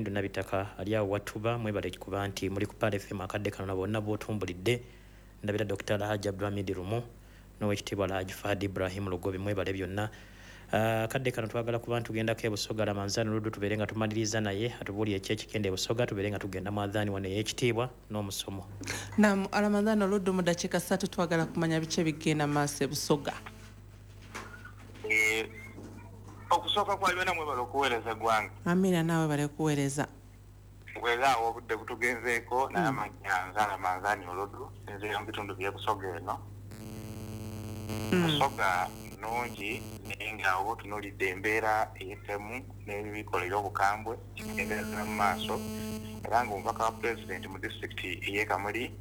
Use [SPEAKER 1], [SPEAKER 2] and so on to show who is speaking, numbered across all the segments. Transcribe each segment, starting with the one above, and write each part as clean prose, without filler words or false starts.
[SPEAKER 1] Kakindu Nabitaka ali awo watuba, mwebale kuba nti muli ku Pearl FM akadde kano na bonna b'otumbulidde. Ndabira Dr. Alhaji Abdulhamid Lumu n'owekitiibwa Alhaji Fahad Ibrahim Lugobi, mwebale byonna. Akadde kano twagala kuba tugendako e Busoga, Ramanzani Luddu tubeere nga tumaliriza naye atubuulire ki ekigenda e Busoga, tubeere nga tugenda mu adhaani wano ey'ekitiibwa n'omusomo.
[SPEAKER 2] Naam, Ramadhani Oluddu, mu dakiika 3 twagala kumanya biki ebigenda maaso e Busoga.
[SPEAKER 3] Okusooka kwa byonna mwebale okuweereza eggwanga.
[SPEAKER 2] Amina, naawe bale kuweereza.
[SPEAKER 3] Weera awo obudde butugenzeeko, naye amannya nze Ramanzani Oluddu, nzira mu bitundu by'e Busoga eno. Busoga nnungi naye nga oba otunuulidde embeera ey'ettemu n'ebikola eby'obukambwe kigendera mu maaso, era ng'omubaka wa pulezidenti mu disitulikiti ey'e Kamuli,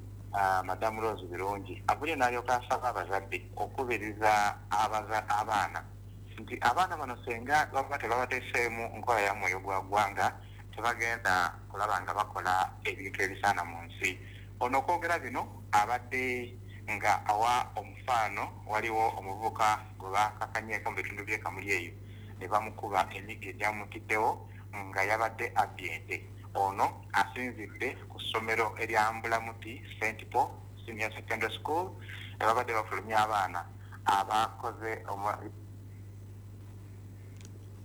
[SPEAKER 3] Madamu Rose Birungi avuddeyo n'alyoka asaba abazadde okukubiriza abaana nti abaana bano singa baba tebabateeseemu nkola ya mwoyo gwa ggwanga tebagenda kulaba nga bakola ebintu ebisaana mu nsi. Ono okwogera bino abadde nga awa omufaano, waliwo omuvubuka gwe bakakanyeeko mu bitundu by'e Kamuli eyo ne bamukuba emiggo egyamutiddewo nga yabadde abbye ente. Ono asinzidde ku ssomero erya Mbulamuti St Paul Senior Secondary School babadde bafulumya abaana abakoze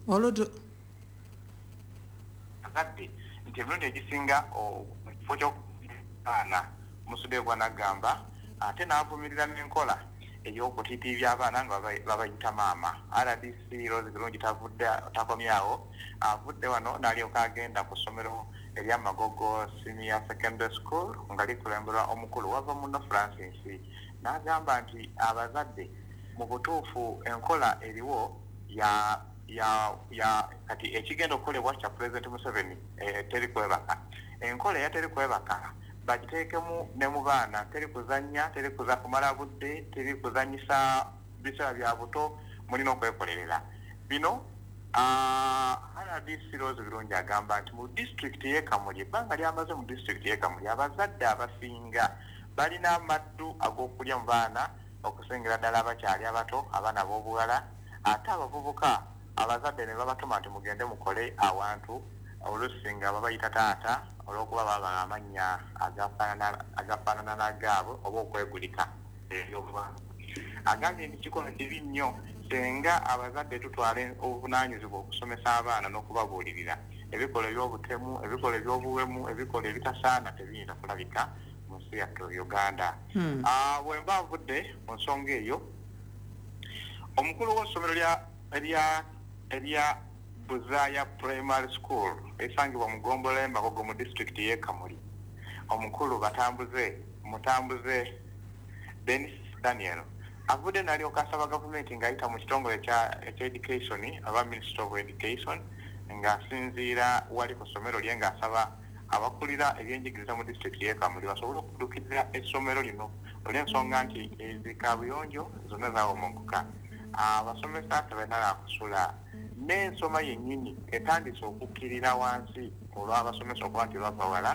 [SPEAKER 2] Oluddu
[SPEAKER 3] azadde nti emirundi egisinga mu kifo ky'abaana musudde gwanagamba ate n'avumirira n'enkola ey'okutiitiibya abaana nga babayita maama. RDC Rose Birungi tavudde takomyawo, avudde wano n'alyoka agenda ku ssomero erya Magogo Senior Secondary School nga likulemberwa omukulu wava muno Francis, n'agamba nti abazadde mu butuufu enkola eriwo ya kati ekigenda okukolebwa kya Pulezidenti Museveni, teri kwebaka. Enkola eya teri kwebaka bagiteekemu ne mu baana, teri kuzannya, teri kuza kumala budde, teri kuzannyisa biseera bya buto, mulina okwekolerera. Bino RDC Rose Birungi agamba nti mu disitulikiti y'e Kamuli, ebbanga lyamaze mu disitulikiti y'e Kamuli, abazadde abasinga balina amaddu ag'okulya mu baana okusingira ddala abakyali abato, abaana b'obuwala, ate abavubuka abazadde ne babatuma nti mugende mukole awantu, oluusi nga babayita taata olw'okuba baba amannya agafaanana n'agaabwe oba okwegulika ebyobwana. Agambye nti kikolwa kibi nnyo singa abazadde tutwala obuvunaanyizibwa okusomesa abaana n'okubabuulirira. Ebikolwa eby'obutemu, ebikolwa eby'obuwemu, ebikolwa ebitasaana tebiyinza kulabika mu nsi yaffe Uganda. Bwe mba nvudde mu nsonga eyo, omukulu w'essomero erya Buzaaya Primary School esangibwa mu ggombolola y'e Magogo mu disitulikiti y'e Kamuli, omukulu Mutambuze Denis Daniel avudde n'alyoka asaba gavumenti ng'ayita mu kitongole ekya education aba Ministry of Education, ng'asinziira wali ku ssomero lye ng'asaba abakulira ebyenjigiriza mu disitulikiti y'e Kamuli basobole okuddukirira essomero lino olw'ensonga nti ezikabuyonjo zonna zaawommonkoka, abasomesa tebalina kusula, n'ensoma yennyini etandise okukkirira wansi olw'abasomesa okuba nti bava wala,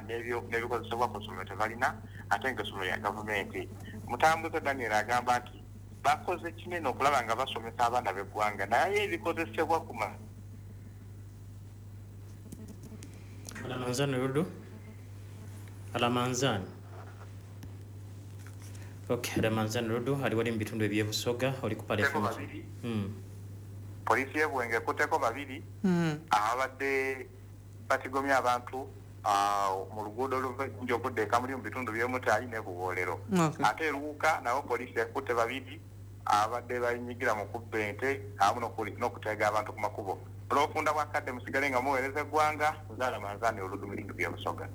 [SPEAKER 3] n'ebikozesebwa ku ssomero tebalina, ate ng'essomero lya gavumenti. Mutambuze Daniel agamba nti bakoze kinene okulaba nga basomesa abaana b'eggwanga, naye ebikozesebwa ku
[SPEAKER 1] Alamanzani Luddu, Alamanzani. Okay, Alamanzani Luddu ali wali mu bitundu eby'e Busoga, oli ku Pearl FM.
[SPEAKER 3] Poliisi y'e Buwenge ekutteko babiri ababadde batigomya abantu mu luguudo oluva Jinja okudda e Kamuli mu bitundu by'e Mutaayi ne Buwoolero. Ate e Luuka nabo poliisi ekutte babiri abadde bayinyigira mu kubba ente awamu n'okutega abantu ku makubo. Olw'obufunda bwa kadde musigale nga muweereza eggwanga, nze Alamanzani Oluddu mu bitundu by'e Busoga.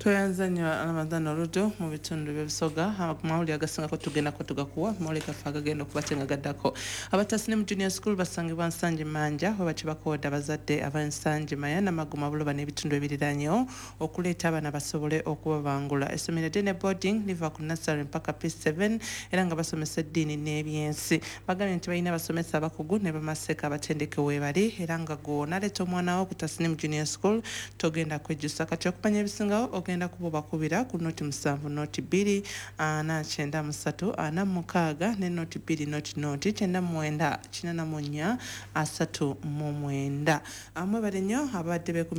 [SPEAKER 2] Tweyanza nnyo Ramadhan Oluddu mu bitundu by'Ebusoga. Amawulire agasingako tugendako tugakuwa mawulire gaffe agagenda okuba gaddako. Abatasi ne mu Junior School basangibwa Nsangi Manja, we batyo bakoowodde abazadde aba Nsangi Maya Namagoma Buloba n'ebitundu ebiriraanyewo okuleeta abaana basobole okubabangula. Essomero eddene boarding liva ku nursery mpaka P7 era nga basomesa eddiini n'ebyensi. Bagambye nti balina abasomesa abakugu ne bamaseeka abatendeke weebali, era nga gw'onaaleeta omwana wo ku Tasnim Junior School togenda kwejjusa. Kati okumanya ebisingawo ogenda kuba obakubira ku 07 02 493 46 ne 02 00 99 84 39. Mwebale nnyo abadde beekumye.